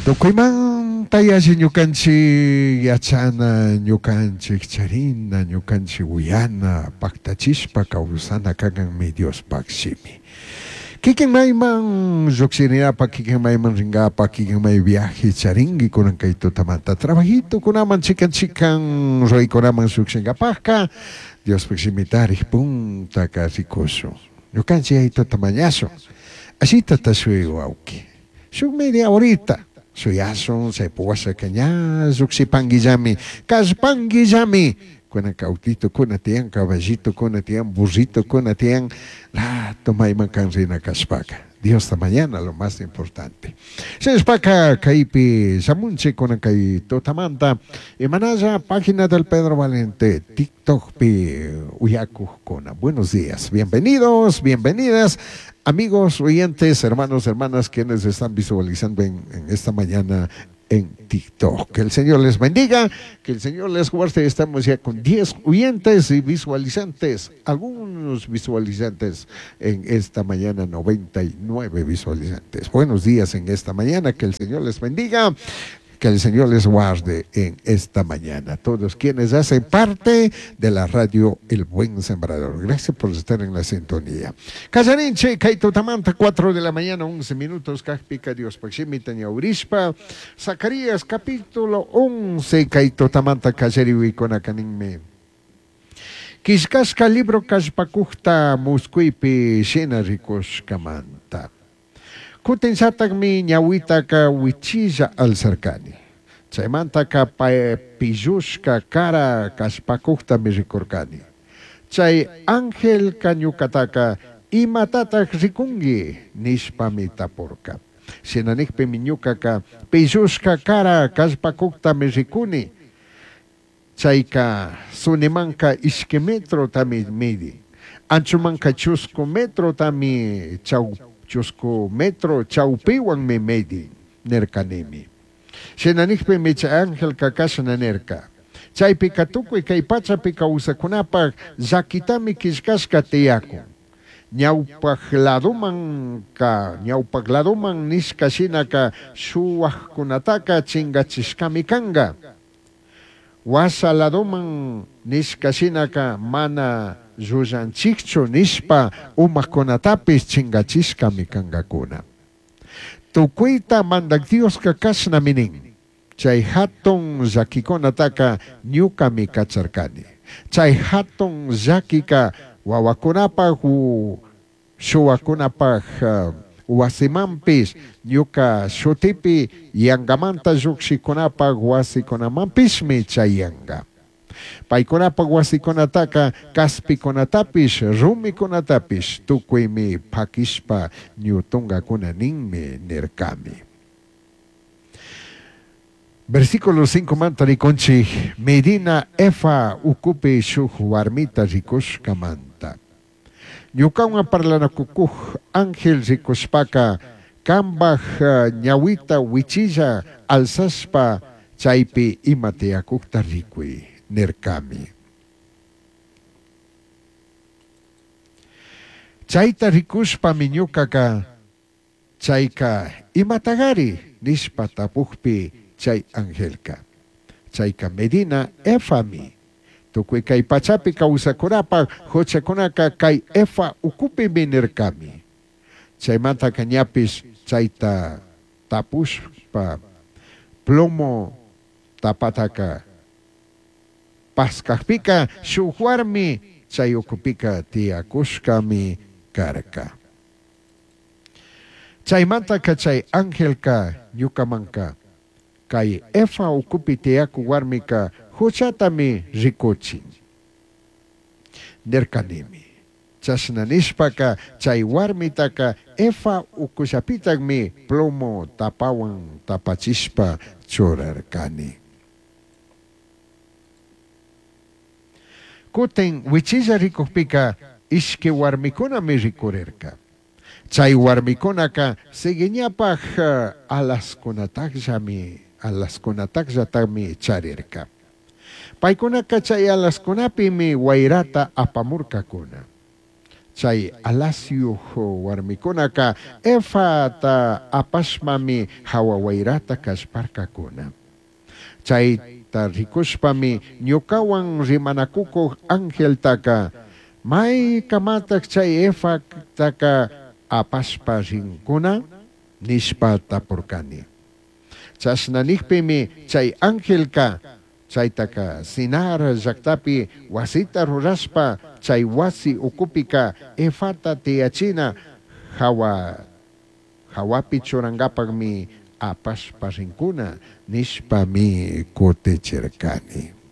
Tukuymanta yalli ñukanchik yachana, ñukanchik charina, ñukanchik uyana, paktachishpa kawsana kankanmi Diospaj shimi. Kikin mayman llujshirinapa, kikin mayman ringapa, kikin may viaje charinki kunan kay tutamanta trabajitukunaman chikan chikan ruraykunaman llujshingapajka Diospaj shimitarik puntaka rikushun. Ñukanchik yayituta mañashun. Ashitata shuy wawki. Shuk media horita shuyashun chaypi washaka ña llujshipanguillami, kallpanguillami. Kunanka autitukuna tiyan, caballitukuna tiyan, burritukuna tiyan, rato mayman kan rina kashpaka. Diosta mañana lo más importante. Shinashpaka kaypi shamunchik kunan kay tutamanta imanalla página del Pedro Valente TikTokpi uyakujkuna. Buenos días, bienvenidos, bienvenidas, amigos, oyentes, hermanos, hermanas, quienes están visualizando en esta mañana en TikTok. Que el Señor les bendiga, que el Señor les guarde. Estamos ya con 10 oyentes y visualizantes, algunos visualizantes en esta mañana, 99 visualizantes. Buenos días en esta mañana, que el Señor les bendiga. Que el Señor les guarde en esta mañana. Todos quienes hacen parte de la radio El Buen Sembrador. Gracias por estar en la sintonía. Kallarinchik, kay tutamanta, 4 de la mañana, 11 minutos. Kajpika Diospaj shimita ñawirishpa. Zacarías capítulo 11, kay tutamanta kallariwikunakaninmi. Quillcashca libro kallpacujta muscuipi shina ricushcamanta. Cutin llatajmi ñahuitaca huichilla alzarcani. Chaimantaca pillushca cara kallpacujtami ricurcani. Chai angelca ñucataca imatataj ricungui nishpami tapurca. Shina nijpimi ñucaca pillushca cara kallpacujtami ricuni. Chaica sunimanca ishqui metrotami midi. Anchomanca chuscu metrotami chau chuscu metro chaupihuanmi midi nircanimi. Shina nijpimi chay angelca cashna nirca. Chaipica tucui kay pachapi kawsakunapaj llaquitami quillcashca tiyakun. Ñawpaj ladomanka, ñawpaj ladoman nishka shinaka shuwajkunataka chingachishkami kanka. Washa ladoman nishka shinaka mana llullanchikchu nishpa umakunatapish chingachishkami kankakuna. Tukuita mandak Dioska kashnami nin. Chay hatun llakikunataka ñukami kacharkani. Chay hatun llakika wawakunapaj u shuwakunapaj wasimanpish ñuka shutipi yankamanta llukshikunapaj wasikunamanpishmi chayanka. Paykunapaj wasikunataka kaspikunatapish rumikunatapish tukuymi pakishpa ñutunkakuna ninmi nirkami. Versículo 5 manta rikunchik Medina Efa ukupi shuk warmita rikushkamanta. Ñukawan parlanakukuj ángel rikushpaka kambaj ñawita wichilla alzashpa chaypi ima tiyakukta rikuy nirkami. Chayta rikushpami ñukaka chayka imatagari nishpa tapukpi chay angelka. Chayka Medina Efami. Tukuy kay pachapi kawsakunapaj huchakunaka kay Efa ukupimi nirkami. Chaymantaka ñapish chayta tapushpa plomo tapataka paskakpika shuk warmi chay ukupika tiyakushkami karka. Chaymantaka chay angelka ñukamanka kay Efa ukupi tiyaku warmika huchatami rikuchin. Nirkanimi. Chashna nishpaka chay warmitaka Efa ukullapitakmi plomo tapawan tapachishpa churarkani. Kutin wichilla rikukpika ishki warmikunami rikurirka. Chay warmikunaka cigueñapaj alaskunatakllami alaskunatakllatakmi charirka. Paykunaka chay alaskunapimi wayrata apamurkakuna. Chai alasyuj huarmicunaca efata apashpami jahua huairata callparcacuna. Chaita ricushpami ñucahuan rimanacucuj angeltaca, Maicamataj chai efataca apashpa rincuna? nishpa tapurcani. Chashna nijpimi chai angelca, Chaitaca Sinar llajtapi huasita rurashpa chai huasi ucupica efata tiyachina jahua jahuapi churangapajmi apashpa rincuna nishpami cutichircani.